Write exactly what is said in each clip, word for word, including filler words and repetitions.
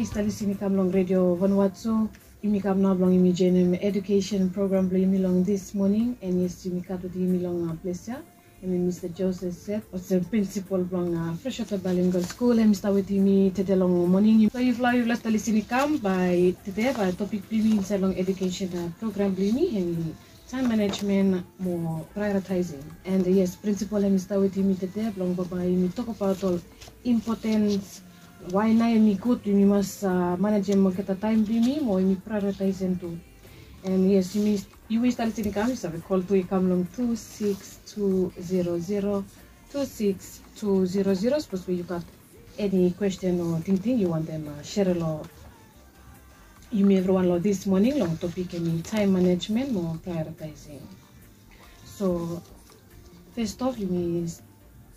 Stap lisin i kam long redio Vanuatu. Yumi kam nao blong yumi joinim edukesen program blong yumi long this morning. And yes, yumi gat wetem yumi long ples ya, hemi Mista Joseph Seth, olsem prinsipol blong Freshwater Bilingual School. Hemi stap wetem yumi tede long moning. So yufala, yufala stap lisin i kam, bae tede bae topik blong yumi insaed long edukesen program blong yumi hemi taem manejmen mo praeoritaesing. And yes, prinsipol hemi stap wetem yumi tede blong bambae yumi tokbaot ol impotens, wae nao hemi gud yumi mas manejem olgeta taem blong yumi mo yumi praeoritaesem tu. And yes, yumi, yu we stap lisin i kam, yu save kol tu i kam long tu sikis tu zero zero, tu sikis tu zero zero, sapos we yu gat eni kwesten o tingting yu wantem sere long yumi evriwan long this moning long topik hemi taem manejmen mo praeoritaesing. So fes of yumi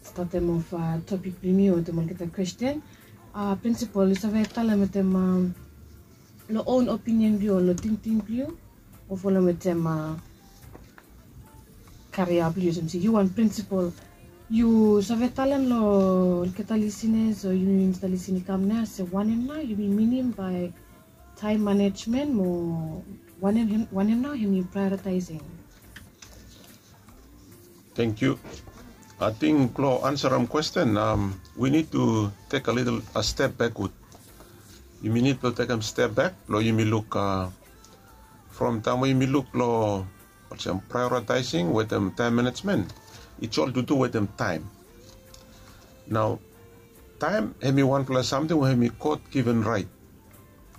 statem of topik blong yumi wetem olgeta kwesten. Prinsipol, yu save talem wetem long own opinion blong yu o long tingting blong yu, o folem wetem karia blong yu, olsem se yu wan prinsipol, yu save talem long olgeta lisinas o yumi stap lisin i kam nao se wanem nao yumi minim bae taem manejmen mo wanem, wanem nao hemi praeoritaesing? Tangkiu. Ating blong ansarem kwesten, we nid tu tek a litol step bekod. Yumi nid blong tekem step bek blong yumi luk from taem we yumi luk long olsem praeoritaesing wetem taem manejmen, it's all to do wetem taem. Nao taem hemi wanfala samting we hemi God given raet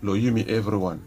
long yumi evriwan.